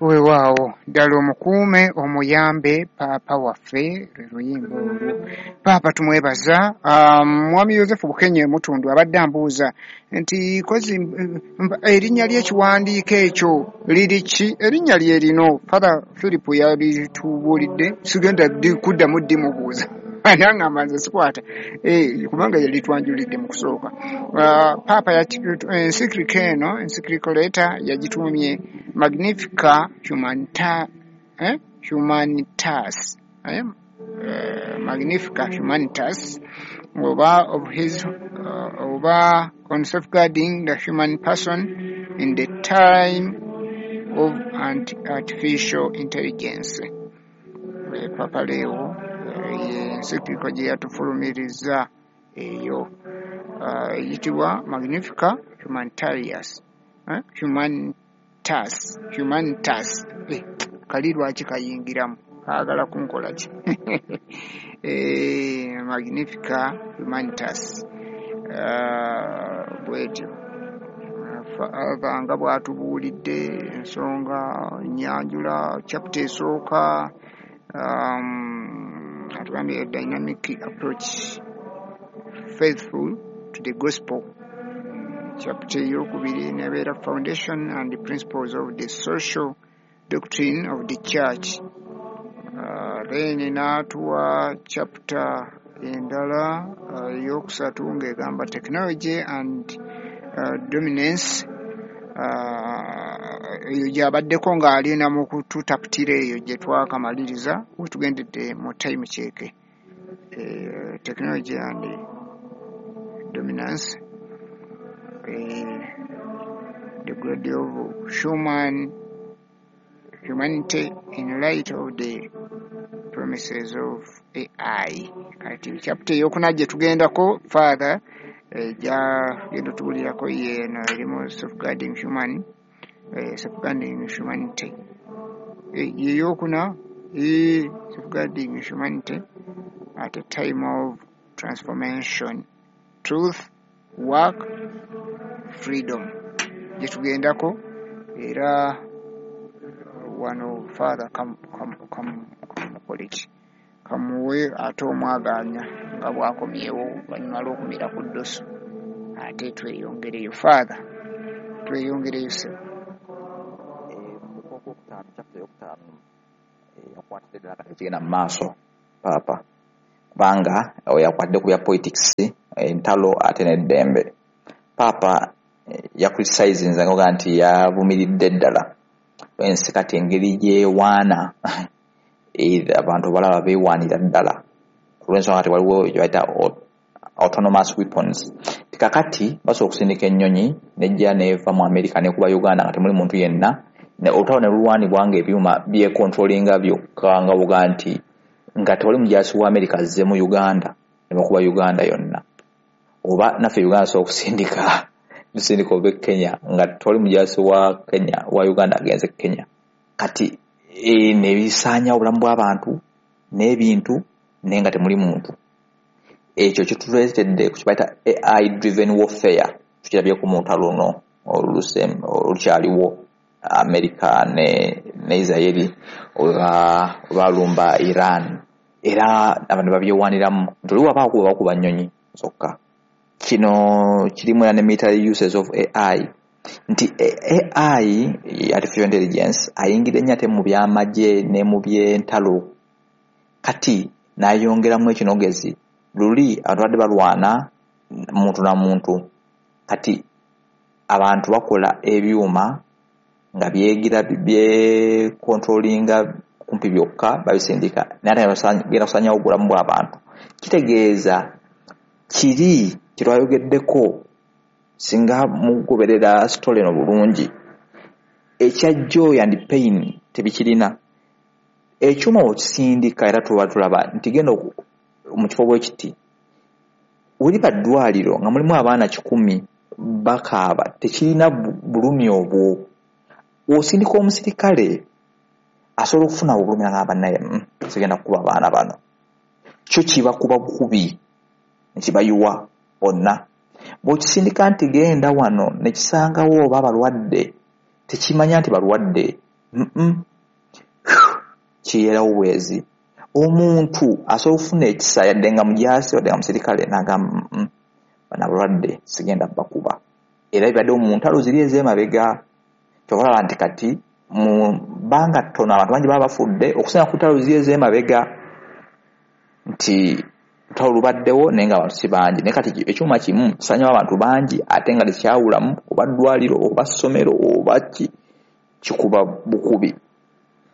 Weewaawo ddala omukuume omuyambe paapa waffe, lwe luyimba olwo. Paapa tumwebaza. Mwami Yosefu Bukenye Mutundu abadde ambuuza nti kozi erinnya ly'ekiwandiiko ekyo liri ki? Erinnya lye lino Father Philip yalitubuulidde, sigenda kuddamu ddimubuuza. Nangamba nze sikwata, kubanga yalitwanjulidde mu kusooka. Paapa encyclical eno, encyclical letter yagituumye Magnifica Humanitas, Magnifica Humanitas oba of his oba on safeguarding the human person in the time of artificial intelligence. Papa Leo encyclical gye yatufulumiriza eyo eyitibwa Magnifica Humanitarius, Humanitas, Humanitas. Kali lwaki kayingiramu, kaagala kunkola ki? Magnifica Humanitas, bwetyo nga bw'atubuulidde ensonga nnyanjula chapter esooka. Atugambye dynamic approach faithful to the gospel. Chapter eyokubiri nebeera foundation and the principles of the social doctrine of the church. Then n'atuwa chapter endala eyokusatu ng'egamba technology and dominance. Eyo gy'abaddeko ng'alina mu kututaputira eyo gye twakamaliriza wetugendedde mu time check. Technology and dominance, the grade of humanity in light of the promises of AI. Kati chapter eyokuna gye tugendako Father gyagenda otubulirako yeeno erimu safeguarding human, safeguarding humanity, yeyokuna, safeguarding humanity at a time of transformation, truth, work, freedom, gyetugendako. Era wano Father kamukoleki kamuwe ate omwaganya nga bwakomyewo oluvannyuma lw'okumira ku ddoso, ate tweyongereyo. Father, tweyongereyo ssebo. Ogwokutaano, chapter eyokutaano yakwatidde ddala kati ekigenda mu maaso paapa, kubanga yakwatidde ku bya politics, entalo ate n'eddembe. Paapa yacriticinze nga nti yavumiridde ddala ensi kati engeri gyewaana, abantu balaba beewaanira ddala olw'ensonga kati waliwo gye bayita autonomous weapons. Tikakati basobola okusindika ennyonyi nejja neva mu America nekuba Uganda nga temuli muntu yenna, olutalo ne lulwanibwa nga ebyuma byecontrolinga byokka, nga buga nti nga tewali mujaasi wa America azze mu Uganda ne bakuba Uganda yonna. Oba naffe Uganda sobola okusindika tusindika oba e Kenya nga tewali mujaasi wa Kenya wa Uganda agenze Kenya. Kati nebisaanyawo obulamu bw'abantu n'ebintu naye nga temuli muntu. Ekyo kituleetedde ku kibayita AI driven warfare, tukirabyeko mu lutalo luno olukyaliwo America ne Israeli olwalumba Iran, era abantu babyewaniramu nti oli waba akuba bakuba nnyonyi zokka. Kino kirimu era ne military uses of AI, nti AI, artificial intelligence, ayingira ennyo ate mu byamagye ne mu by'entalo. Kati n'ayongeramu ekinogezi, luli abantu badde balwana muntu na muntu, kati abantu bakola ebyuma nga byegira byekontrolinga kumpi byokka, babisindika naye ate genda kusaanyawo obulamu bw'abantu. Kitegeeza kiri kyetwayogeddeko, singa mugoberera story eno bulungi, ekya joy and pain tebikirina. Ekyuma okisindika era tuba tulaba nti genda mu kifo bwe kiti, weriba ddwaliro nga mulimu abaana 100 bakaaba, tekirina bulumi obwo. Osindika omusirikale asobola okufuna obulumi nga bannaye, sigenda kukuba abaana bano, kyo kibakuba bukubi nekibayiwa bonna. Bw'okisindika nti genda wano nekisangawo oba abalwadde, tekimanya nti balwadde, Kiyeerawo bwezi. Omuntu asobola okufuna ekisa yadde nga mujaasi, wadde nga musirikale, n'agamba bano abalwadde sigenda bakuba. Era bibaddewo mu ntalo ziri ez'emabega. Kyova olaba nti kati mu bbanga ttono abantu bangi baba bafudde okusinga ku ntalo ziri ez'emabega, nti lutalo lubaddewo naye nga abantu si bangi. Naye kati ekyuma kimu kisaanyawo abantu bangi, ate nga tekyawulamu oba ddwaliro oba ssomero oba ki, kikuba bukubi.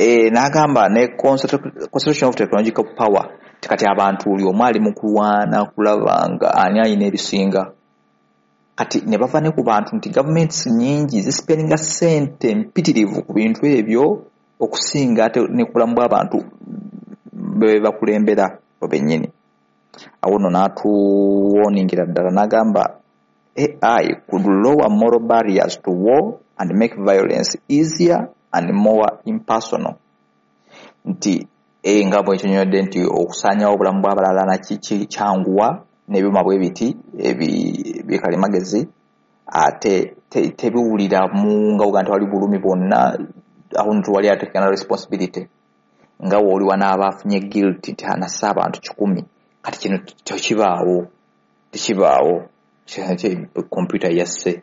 N'agamba ne concentration of technological power, nti kati abantu buli omu ali mu kulwana kulaba nga ani alina ebisinga. Kati ne bava ne ku bantu nti gavumenti nnyingi zisipendinga ssente mpitirivu ku bintu ebyo okusinga ate ne ku bulamu bw'abantu be bakulembera bo bennyini. Awo nno n'atuwooningira ddala n'agamba AI could lower moral barriers to war and make violence easier and more impersonal. Nti nga bwe nkinyonyodde nti okusaanyawo obulamu bw'abalala naki kyanguwa n'ebyuma bwe biti bikalimagezi, ate tebiwuliramu nga bw'ogamba nti wali bulumi bwonna. Awo nno tewali atekana responsibility, nga w'oli wanaaba afunye guilt nti anassa abantu 100. Kati kino tekibaawo, tekibaawo. Computer yasse,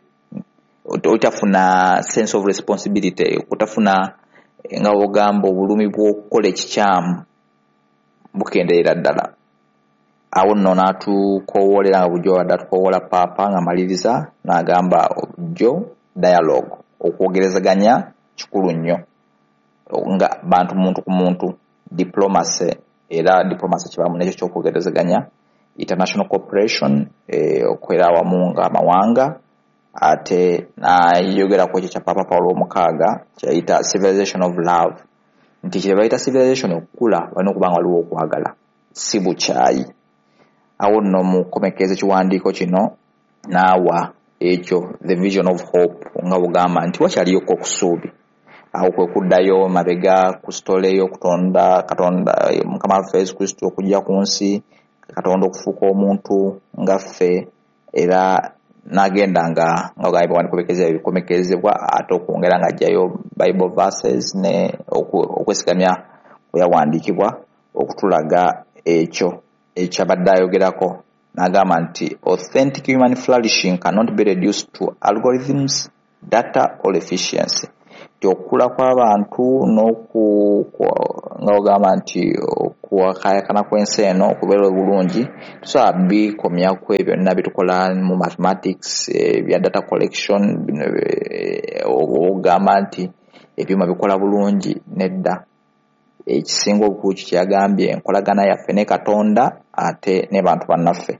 otafuna sense of responsibility, otafuna nga bw'ogamba obulumi bw'okukola ekikyamu bukendeera ddala. Awo nno n'atukowoolera nga bulijjo abadde atukowoola Paapa ng'amaliriza n'agamba bulijjo dialogue, okwogerezeganya kikulu nnyo nga bantu muntu ku muntu, diplomacy, era diplomacy kibaamu n'ekyo ky'okwogerezeganya, international cooperation, okukolera awamu ng'amawanga. Ate n'ayogera ku ekyo kya Paapa Paulo omukaaga kyeyayita civilization of love, nti kye bayita civilization okukula walina okuba nga waliwo okwagala, si bukyayi. Awo nno mu kukomekkereza ekiwandiiko kino n'awa ekyo the vision of hope, nga bugamba nti wakyaliyoko okusuubi. Awo kwe kuddayo mabega ku sitole y'okutonda Katonda Mukama waffe Yesu Kristo okujja ku nsi, Katonda okufuuka omuntu nga ffe, era n'agenda nga nga bikomekkerezebwa, ate okwongera ng'aggyayo Bible verses ne okwesigamya kwe yawandiikibwa okutulaga ekyo ekyabadde ayogerako. N'agamba nti authentic human flourishing cannot be reduced to algorithms, data or efficiency. Nti okukula kw'abantu nga ogamba nti okuwakayakana kw'ensi eno okubeera obulungi tusobola bikomya ku ebyo byonna byetukola mu mathematics, ebya data collection bino, ogamba nti ebyuma bikola bulungi. Nedda, ekisinga obukulu kyeyagambye enkolagana yaffe ne Katonda ate ne bantu bannaffe.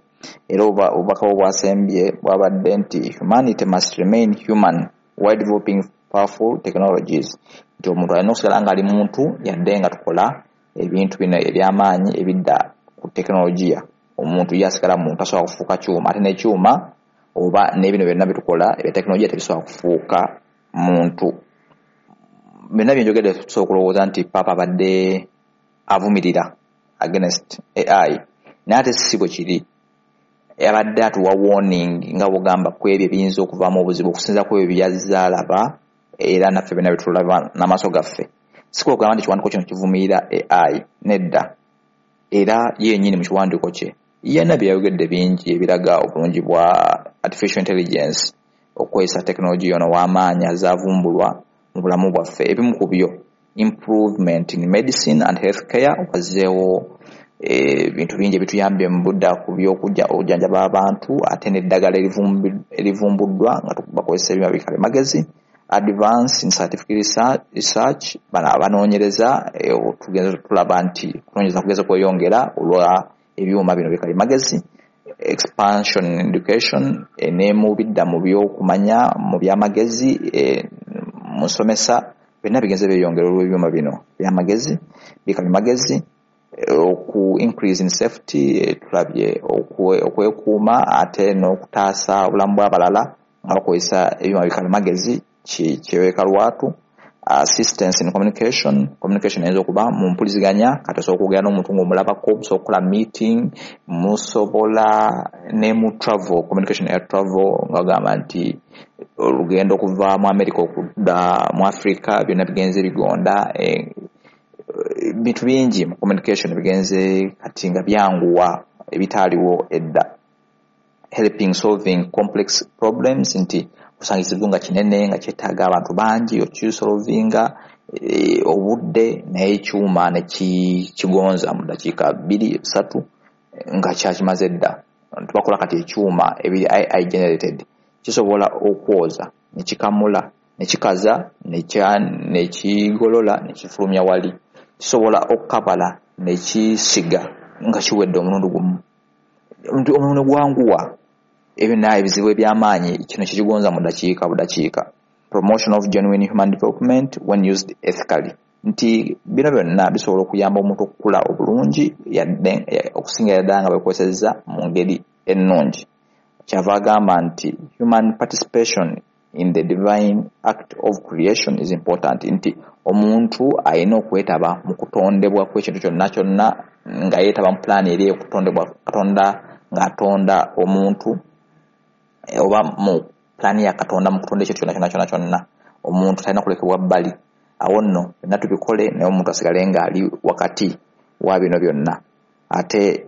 Era obubaka bwe bwasembye bwabadde nti humanity must remain human while developing powerful technologies, nti omuntu alina okusigala ng'ali muntu yadde nga tukola ebintu bino ebyamaanyi ebidda ku tekinologiya. Omuntu ye asigala muntu, tasobola kufuuka kyuma, ate n'ekyuma oba n'ebino byonna byetukola ebya tekinologiya tebisobola kufuuka muntu. Byonna byenjogedde tusobola okulowooza nti Paapa abadde avumirira against AI, naye ate si bwe kiri. Abadde atuwa warning nga bw'ogamba ku ebyo ebiyinza okuvaamu obuzibu okusinziira ku ebyo byazze alaba, era naffe byonna byetulaba n'amaaso gaffe. Si kwe kugamba nti ekiwandiiko kino kivumirira AI, nedda. Era ye yennyini mu kiwandiiko kye yenna bye yayogedde bingi ebiraga obulungi bwa artificial intelligence, okukozesa tekinologiya ono ow'amaanyi azaavumbulwa mu bulamu bwaffe. Ebimu ku byo improvement in medicine and health care, wazzeewo ebintu bingi ebituyambye mu budda ku by'okujjanjaba abantu, ate n'eddagala erivumbuddwa nga bakozesa ebyuma bikalimagezi. Advance in scientific research, bano abanoonyereza tugenze tulaba nti okunoonyereza kugeze kweyongera olwa ebyuma bino bikalimagezi. Expansion in education, ne mu bidda mu by'okumanya mu byamagezi, mu nsomesa byonna bigenze byeyongera olw'ebyuma bino byamagezi bikalimagezi. Oku increase in safety, tulabye okwekuuma ate n'okutaasa obulamu bw'abalala nga bakozesa ebyuma bikalimagezi kyeyoleka lwatu. Assistance in communication. Communication eyinza okuba mu mpuliziganya, kati osobola okwogera n'omuntu ng'omulabako, musobola okukola meeting, musobola ne mu travel, communication eya travel, nga bagamba nti olugendo okuva mu America okudda mu Africa byonna bigenze bigonda. Bintu bingi mu communication bigenze kati nga byanguwa ebitaaliwo edda. Helping solving complex problems, nti osanga ekizibu nga kinene nga kyetaaga abantu bangi okisolvinga, obudde, naye ekyuma ne kigonza mu ddakiika 2 3 nga kyakimaze dda. Tubakola kati ekyuma ebiri AI generated, kisobola okwoza ne kikamula ne kikaza ne kigolola ne kifulumya wali, kisobola okukabala ne kisiga nga kiwedde omulundi gumu, omulundi gwanguwa. Ebyo naye ebizibu eby'amaanyi kino kikigonza mu ddakiika budakiika. Promotion of genuine human development when used ethically, nti bino byonna bisobola okuyamba omuntu okukula obulungi yadde okusingira ddala nga bekozesezza mu ngeri ennungi. Kyava agamba nti human participation in the divine act of creation is important, nti omuntu alina okwetaba mu kutondebwa kw'ekintu kyonna kyonna, nga yeetaba mu pulaani eri ey'okutondebwa Katonda ng'atonda omuntu, oba mu pulaani ya Katonda mu kutonda ekintu kyonna kyonna kyonna kyonna. Omuntu talina kulekebwa bbali. Awo nno byonna tubikole, naye omuntu asigale ng'ali wakati wa bino byonna. Ate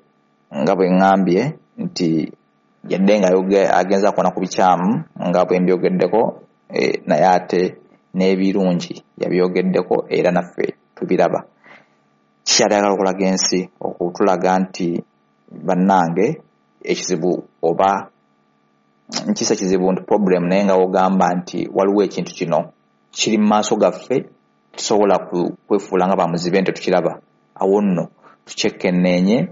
nga bwe ŋŋambye nti yadde nga agenza kuona ku bikyamu nga bwe mbyogeddeko, naye ate n'ebirungi yabyogeddeko era naffe tubiraba. Kikyali okulaga ensi, okutulaga nti bannange ekizibu oba nkisa kizibu nti problem, naye nga wogamba nti waliwo ekintu kino kiri mu maaso gaffe, tusobola kwefuula nga bamuzibe nti tukiraba. Awo nno tukyekenneenye,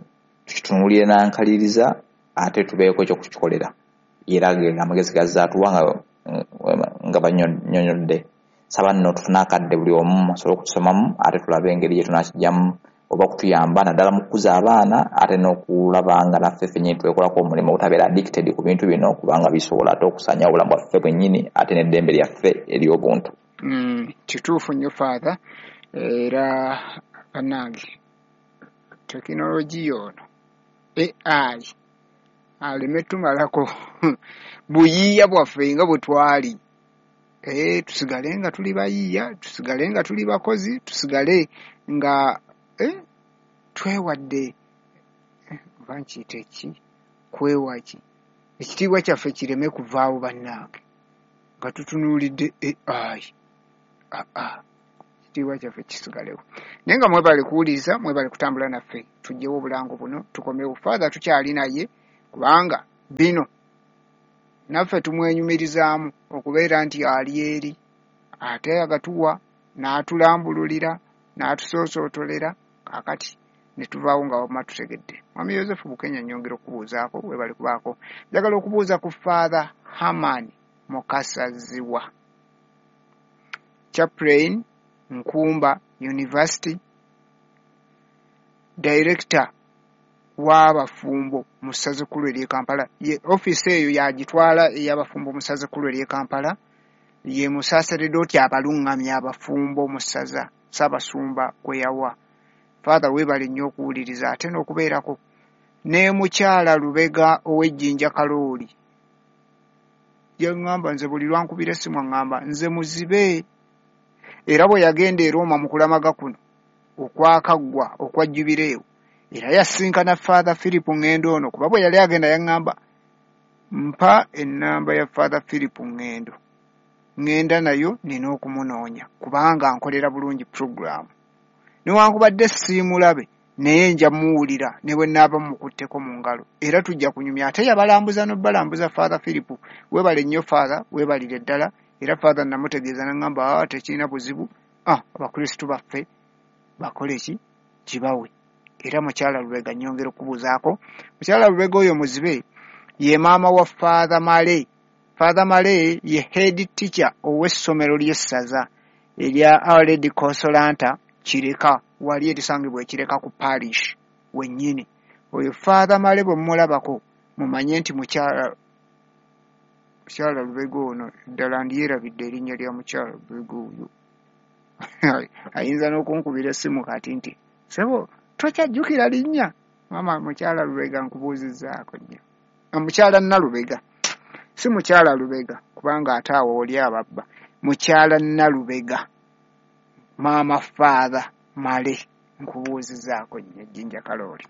tukitunuulire n'ankaliriza, ate tubeeko ekyokukikolera. Era ge amagezi gazzaatuwa nga bannyonnyodde. Saba nno tufune akadde buli omu asobole okukisomamu, ate tulabe engeri gye tunakijjamu oba kutuyamba naddala mu kukuza abaana, ate n'okulaba nga naffe ffennyini twekolako omulimu obutabeera addicted ku bintu bino, kubanga bisobola ate okusaanyawo obulamu bwaffe bwennyini ate n'eddembe lyaffe ery'obuntu. Kituufu nnyo Father, era bannange tekinologiya ono AI aleme tumalako buyiiya bwaffe nga bwe twali. Tusigale nga tuli bayiiya, tusigale nga tuli bakozi, tusigale nga twewadde, oba nkiyite ki, kwewa ki, ekitiibwa kyaffe kireme kuvaawo bannange nga tutunuulidde AI. Ekitiibwa kyaffe kisigalewo. Naye nga mwebale kuwuliriza, mwebale kutambula naffe, tuggyewo obulango buno tukomewo. Father tukyali naye, kubanga bino naffe tumwenyumirizaamu okubeera nti ali eri, ate agatuwa n'atulambululira n'atusoosootolera, kaakati ne tuvaawo nga wamma tutegedde. Mwami Yosefu Bukenya, nnyongera okubuuzaako, weebale kubaako. Njagala okubuuza ku Father Herman Mukasa Zziwa, Chaplain Nkumba University, Director w'abafumbo mu ssaza ekkulu ery'e Kampala. Ye ofiisi eyo yagitwala ey'abafumbo mu ssaza ekkulu ery'e Kampala, ye musaaseredooti abaluŋŋamya abafumbo mu ssaza Ssaabasumba gwe yawa. Father weebale nnyo okuwuliriza ate n'okubeerako. Ne mukyala Lubega ow'Ejjinja Kalooli yaŋŋamba, nze buli lwankubira essimu aŋŋamba nze muzibe, era bwe yagenda e Roma mu kulamaga kuno okwakaggwa okwa jubireewo, era yasinkana Father Philip Ngendo ono, kuba bwe yali agenda yaŋŋamba mpa ennamba ya Father Philip Ngendo, ŋŋenda nayo nina okumunoonya kubanga nkolera bulungi puroguraamu, newankubadde siimulabe naye nja muwulira ne bwe nnaaba mukutteko mu ngalo, era tujja kunyumya. Ate yabalambuza n'obalambuza Father Philip. Weebale nnyo Father, weebalire ddala. Era Father namutegeeza n'aŋŋamba tekirina buzibu, Abakristu baffe bakole ki kibawe. Era mukyala Lubega nnyongera okubuuzaako. Mukyala Lubega oyo muzibe ye maama wa Father Male. Father Male ye head teacher ow'essomero ly'essaza erya Our Lady Consolata Kireka, wali erisangibwa Ekireka ku parish wennyini. Oyo Father Male bwe mumulabako mumanye nti mukyala Lubega ono, ddala ndyerabidde erinnya lya mukyala Lubega oyo. Ayinza n'okunkubira essimu kati nti sebo tokyajjukira linnya. Maama mukyala Lubega nkubuuzizzaako nnyo. Mukyala Nalubega, si mukyala Lubega kubanga ate awo oli ababba. Mukyala Nalubega, maama Father Male, nkubuuzizzaako nnyo. Jjinja Kalooli.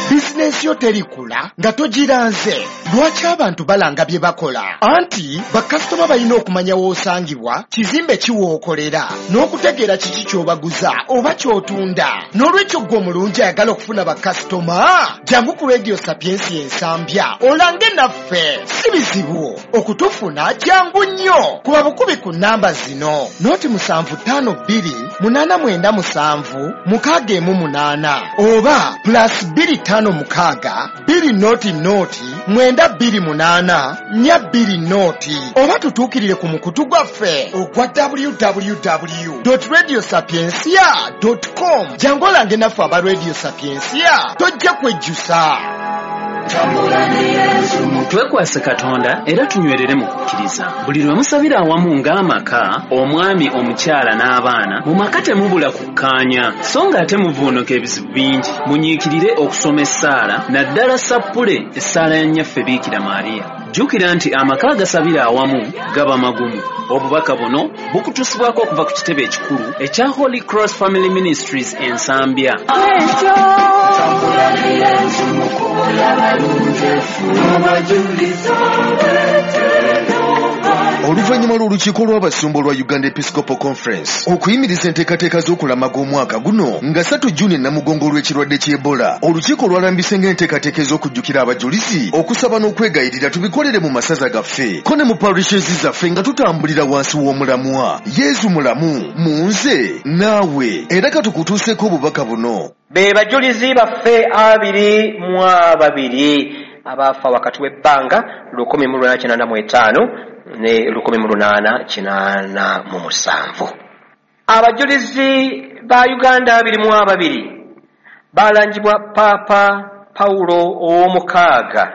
Bizinensi yo terikula nga togiranze. Lwaki abantu balanga bye bakola? Anti bakasitoma balina okumanya w'osangibwa, kizimbe ki w'okolera, n'okutegeera kiki ky'obaguza oba ky'otunda. N'olwekyo ggwe omulungi ayagala okufuna bakasitoma, jangu ku Radio Sapiensia Ensambya olange naffe. Si bizibu okutufuna, jangu nnyo. Kuba bukubi ku nnamba zino: 0 752 897 618 oba +256 200 928 420, oba tutuukirire ku mukutu gwaffe ogwa www radio sapiencia com. Jangu olange naffe aba Radio Sapiencia, tojja kwejjusa. Twekwase Katonda era tunywerere mu kukkiriza. Buli lwe musabira awamu ng'amaka, omwami, omukyala n'abaana, mu maka temubula kukkaanya, so ng'ate muvuunuka ebizibu bingi. Munyiikirire okusoma essaala, naddala sappule, essaala ya Nnyaffe Biikira Maariya. Jjukira nti amaka agasabira awamu gaba magumu. Obubaka buno bukutuusibwako okuva ku kitebe ekikulu ekya Holy Cross Family Ministries Ensambya. Tambula ne Yesu mu kkubo ly'abalungefu, abajuliza beteno. Oluvannyuma lw'olukiiko lw'abasumba olwa Uganda Episcopal Conference okuyimiriza enteekateeka z'okulamaga omwaka guno nga 3 Juni Namugongo olw'ekirwadde ky'Ebola, olukiiko lwalambise ng'enteekateeka ez'okujjukira abajulizi, okusaba n'okwegayirira tubikolere mu masaza gaffe ko ne mu parishes zaffe, nga tutambulira wansi w'omulamwa "Yezu mulamu mu nze naawe". Era katukutuuseeko obubaka buno. Be bajulizi baffe 22 abaafa wakati w'ebbanga 1885 ne 1887. Abajulizi ba Uganda 22 balangibwa Paapa Pawulo ow'omukaaga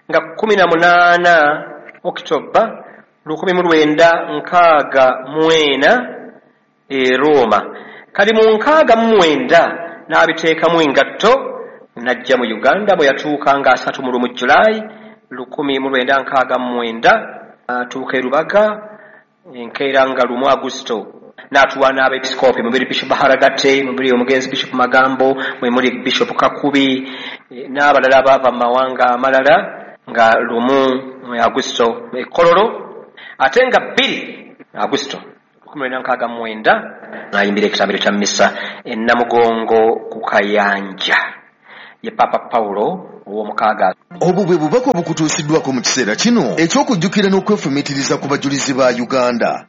nga 18 Okitoba 1964 e Roma. Kali mu 69 n'abiteekamu engatto n'ajja mu Uganda, bwe yatuuka nga 31 Julayi 1969, atuuka e Rubaga enkeera nga 1 Agusito, n'atuwa n'abepisikoopi mubiri: Bishop Baharagate, mubiri omugenzi Bishop Magambo, mwe muli Bishop Kakubi n'abalala abaava mu mawanga amalala, nga 1 Agusito e Kololo. Ate nga 2 Agusito 1969 n'ayimbira ekitambiro kya misa e Namugongo ku kayanja, ye Papa Pawulo ow'omukaaga. Obwo bwe bubaka obukutuusiddwako mu kiseera kino eky'okujjukira n'okwefumiitiriza ku bajulizi ba Uganda.